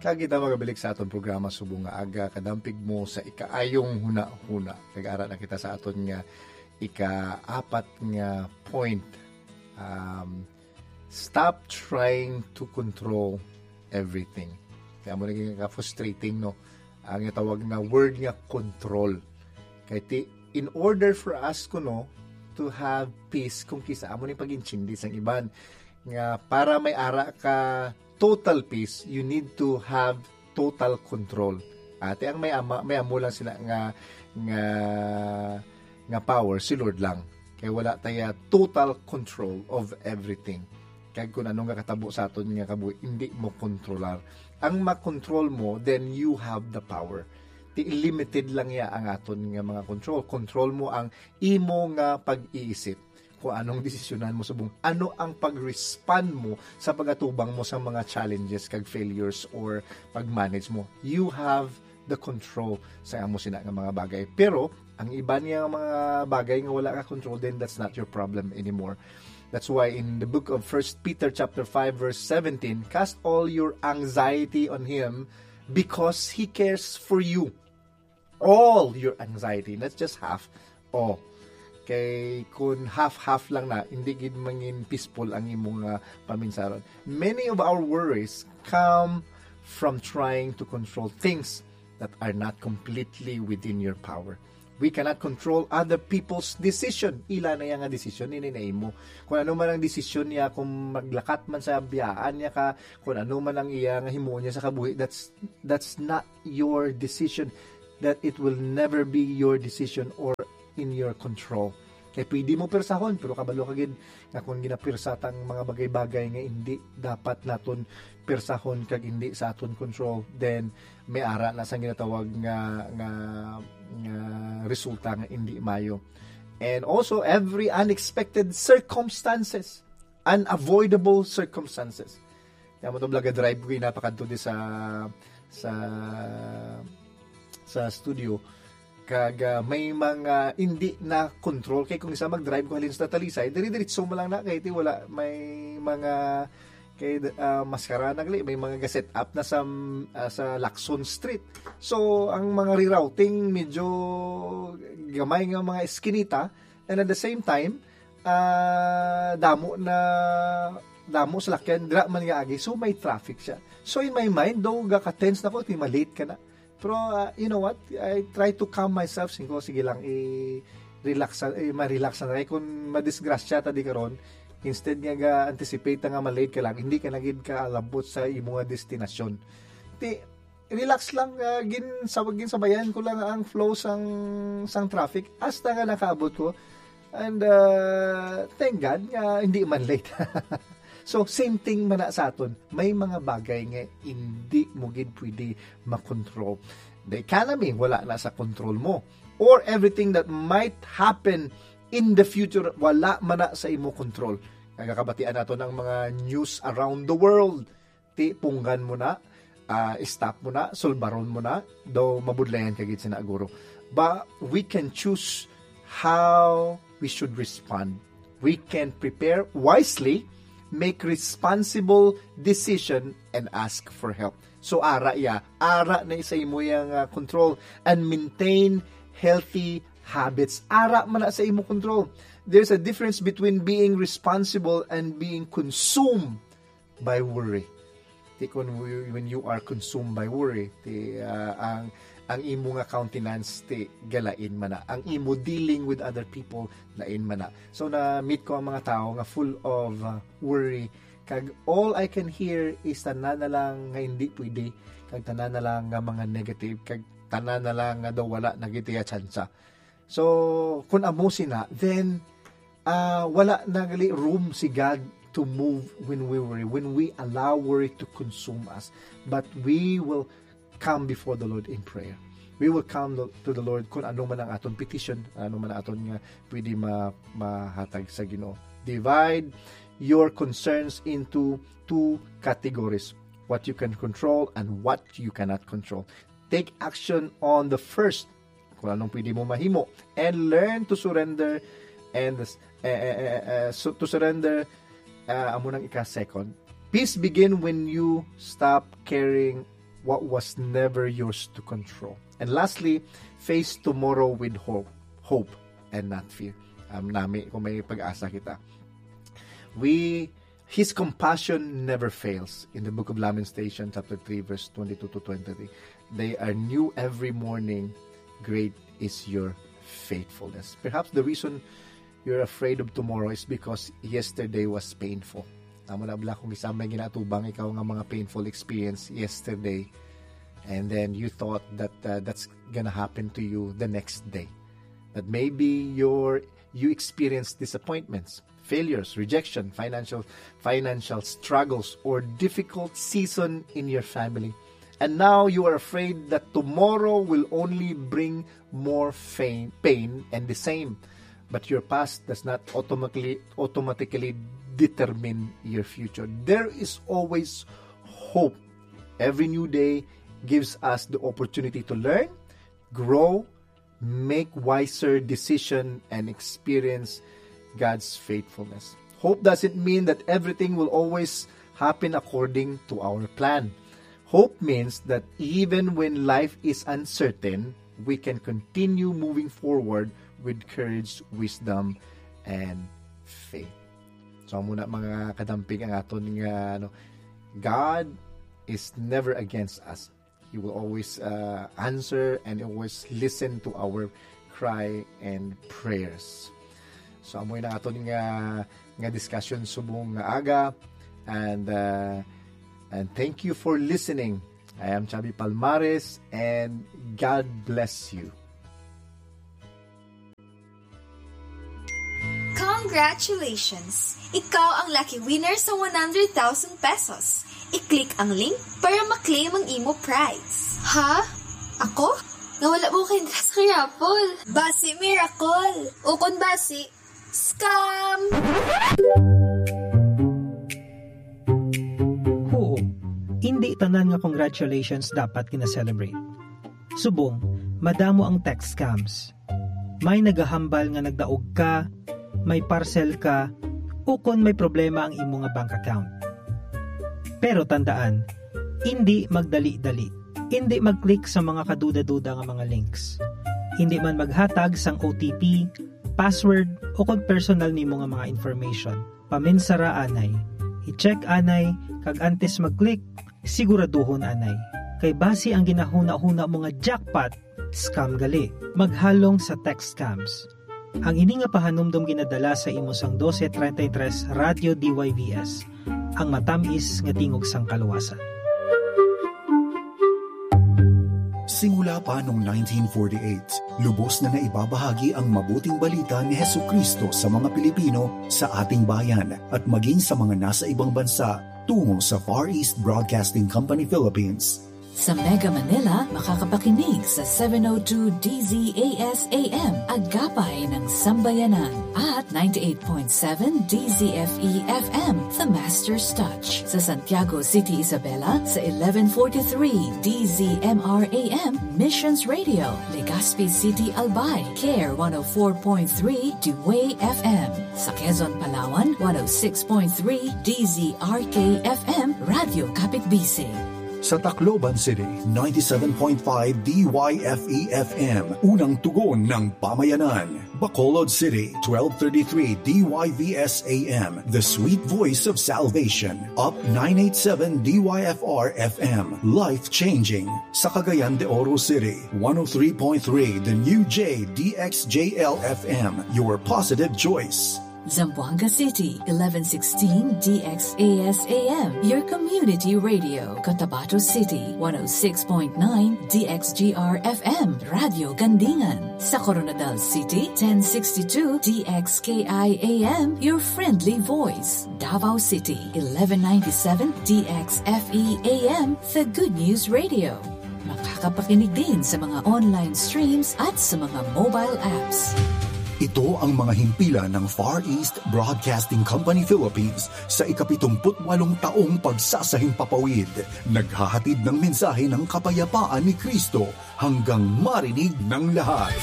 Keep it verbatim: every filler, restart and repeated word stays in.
Kag kita magabalik sa aton programa subong nga aga, kadampig mo sa ikaayong hunahuna. Kag ara na kita sa aton nga ikaapat nga point. Um, stop trying to control everything. Kaya mo naging ka-frustrating, no? Ang tawag na word nga control. Kay ti, in order for us, kuno, to have peace, kung kisa amo ni pag-intindi sang iban, nga para may ara ka total peace, you need to have total control. Ate, ang may ama, may amo lang sila nga, nga, nga power, si Lord lang. Kay wala taya total control of everything. Kag kung ano nga katabo sa aton nga kabuhi, hindi mo kontrolar. Ang makontrol mo, then you have the power. Ti limited lang ya ang aton nga mga control. Control mo ang imo nga pag-iisip. Kung anong desisyonan mo subong, ano ang pag-respond mo sa pag-atubang mo sa mga challenges kag failures or pag-manage mo. You have the control sa amo sina nga mga bagay. Pero ang iban nga mga bagay nga wala ka control, then that's not your problem anymore. That's why in the book of First Peter chapter five verse seventeen, "Cast all your anxiety on him because he cares for you." All your anxiety, not just half. Oh, kay kun half-half lang na, hindi gid mangin peaceful ang imong, ah, paminsaron. Many of our worries come from trying to control things that are not completely within your power. We cannot control other people's decision. Ila na iya nga decision, ini na imo. Kung ano man ang decision niya, kung maglakat man sa biyaan niya ka, kung ano man ang iya nga himuon niya sa kabuhi, that's, that's not your decision. That it will never be your decision or in your control. Kay pwede mo pirsahon, pero kabalo ka gid nga kung ginapirsa tang mga bagay-bagay nga hindi dapat naton pirsahon kag hindi sa aton control, then may ara na sang ginatawag nga, nga, nga resulta nga hindi mayo. And also, every unexpected circumstances, unavoidable circumstances. Kaya mo to, vlog, drive ko yung napakadto di sa, sa, sa studio. Kag, ah, may mga hindi na control. Kay kung isa mag-drive ko halin sa Talisay, diri-diritso mo lang na. Kay ti wala, may mga, kay, ah, maskara na gali, may mga ga-set up na sa, ah, sa Lacson Street. So, ang mga rerouting, medyo gamay nga mga eskinita. And at the same time, ah, damo na, damo salakyan, dira man nga agi. So, may traffic siya. So, in my mind, though, gaka-tense na ko, ti malate ka na. Pero, ah, you know what? I try to calm myself. Singko, sige lang, i-relax, eh, ma-relax na. Kay kung madisgrasya ta di karon, instead nga ga-anticipate nga malate ka lang, hindi ka na gid kalabot sa imo nga destinasyon. Ti, relax lang, ah, gin-, sab-, ginsabayan ko lang ang flow sang, sang traffic hasta nga nakaabot ko. And, ah, thank God nga hindi man late. So, same thing man na sa aton. May mga bagay nga hindi mo gid pwede makontrol. The economy, wala na sa control mo. Or everything that might happen in the future, wala man na sa imo control. Nagakabatian nato ng mga news around the world. Ti punggan mo na, ah, stop mo na, sulbaron mo na, daw mabudlayan ka gid sina guro. But we can choose how we should respond. We can prepare wisely, make responsible decision, and ask for help. So, ara ya, ara na sa imo yang, ah, control, and maintain healthy habits. Ara man na sa imo control. There's a difference between being responsible and being consumed by worry. Ti kun, when you are consumed by worry, ti, ah, ang, ang imo nga countenance ti galain man na. Ang imo dealing with other people lain man na. So, na-meet ko ang mga tao nga full of, ah, worry. Kag all I can hear is tanan na lang nga hindi pwede, kag tanan na lang nga mga negative, kag tanan na lang nga daw wala na gid iya tsansa. So, kung amo sina, then, ah, wala na gali room si God to move when we worry, when we allow worry to consume us. But we will come before the Lord in prayer. We will come lo-, to the Lord kung ano man ang aton petition, ano man ang aton nga pwede ma-, mahatag sa Ginoo. Divide your concerns into two categories, what you can control and what you cannot control. Take action on the first, kung anong pwede mo mahimo, and learn to surrender and, eh, eh, eh, eh, so, to surrender, ah, amo nang ika-second. Peace begin when you stop caring what was never yours to control. And lastly, face tomorrow with hope, hope and not fear. Um, nami kung may pag-asa kita. We His compassion never fails. In the book of Lamentation, chapter three, verse twenty-two to twenty-three, "They are new every morning. Great is your faithfulness." Perhaps the reason you're afraid of tomorrow is because yesterday was painful. Amo na bala kung isa may ginatubang ikaw nga mga painful experience yesterday, and then you thought that, uh, that's gonna happen to you the next day. That maybe your, you experienced disappointments, failures, rejection, financial, financial struggles, or difficult season in your family. And now you are afraid that tomorrow will only bring more fain-, pain and the same. But your past does not automatically, automatically determine your future. There is always hope. Every new day gives us the opportunity to learn, grow, make wiser decision, and experience God's faithfulness. Hope doesn't mean that everything will always happen according to our plan. Hope means that even when life is uncertain, we can continue moving forward with courage, wisdom, and faith. So, amo na, mga kadampig, ang aton nga, ano, God is never against us. He will always, uh, answer and always listen to our cry and prayers. So, amo na aton nga, nga discussion subong nga aga. And, uh, and thank you for listening. I am Chubby Palmares, and God bless you. Congratulations! Ikaw ang lucky winner sa one hundred thousand pesos. I-click ang link para ma-claim ang imo prize. Ha? Ako? Nga wala mo kay interest kay Apple. Basi miracle. Ukon basi, scam! Huo, indi tanan nga congratulations dapat gina-celebrate. Subong, madamo ang text scams. May nagahambal nga nagdaog ka, may parcel ka, ukon may problema ang imo nga bank account. Pero tandaan, indi magdali-dali. Indi mag-click sa mga kaduda-duda nga mga links. Indi man maghatag sang O T P, password, ukon personal nimo nga mga information. Paminsara anay. I-check anay, kag antes mag-click, siguraduhon anay. Kay basi ang ginahuna-huna mo nga jackpot, scam gali. Maghalong sa text scams. Ang ini nga pahanumdom ginadala sa imo sang dose treinta y tres Radyo D Y V S, ang matamis nga tingog sang kaluwasan. Simula pa noong nineteen forty-eight, lubos na naibabahagi ang mabuting balita ni Jesucristo sa mga Pilipino sa ating bayan at maging sa mga nasa ibang bansa tungo sa Far East Broadcasting Company Philippines. Sa Mega Manila, makakapakinig sa seven oh two D Z A S A M, Agapay ng Sambayanan, at ninety-eight point seven D Z F E F M, The Master's Touch. Sa Santiago City, Isabela, sa eleven forty-three D Z M R A M, Missions Radio, Legazpi City, Albay, Care one oh four point three, Dewey F M. Sa Quezon, Palawan, one oh six point three D Z R K F M, Radyo Kapitbisig. Sa Tacloban City, ninety-seven point five D Y F E F M, unang tugon ng pamayanan. Bacolod City, twelve thirty-three D Y V S A M, the sweet voice of salvation. Up nine eight seven D Y F R F M, life-changing. Sa Cagayan de Oro City, one oh three point three The New J D X J L F M, your positive choice. Zamboanga City, eleven sixteen D X A S A M, your community radio. Cotabato City, one oh six point nine D X G R F M, Radyo Gandingan. Sa Koronadal City, ten sixty-two D X K I A M, your friendly voice. Davao City, eleven ninety-seven D X F E A M, the good news radio. Makakapakinig din sa mga online streams at sa mga mobile apps. Ito ang mga himpilan ng Far East Broadcasting Company Philippines sa ikapitumput walong taong pagsasahimpapawid. Naghahatid ng mensahe ng kapayapaan ni Kristo hanggang marinig ng lahat.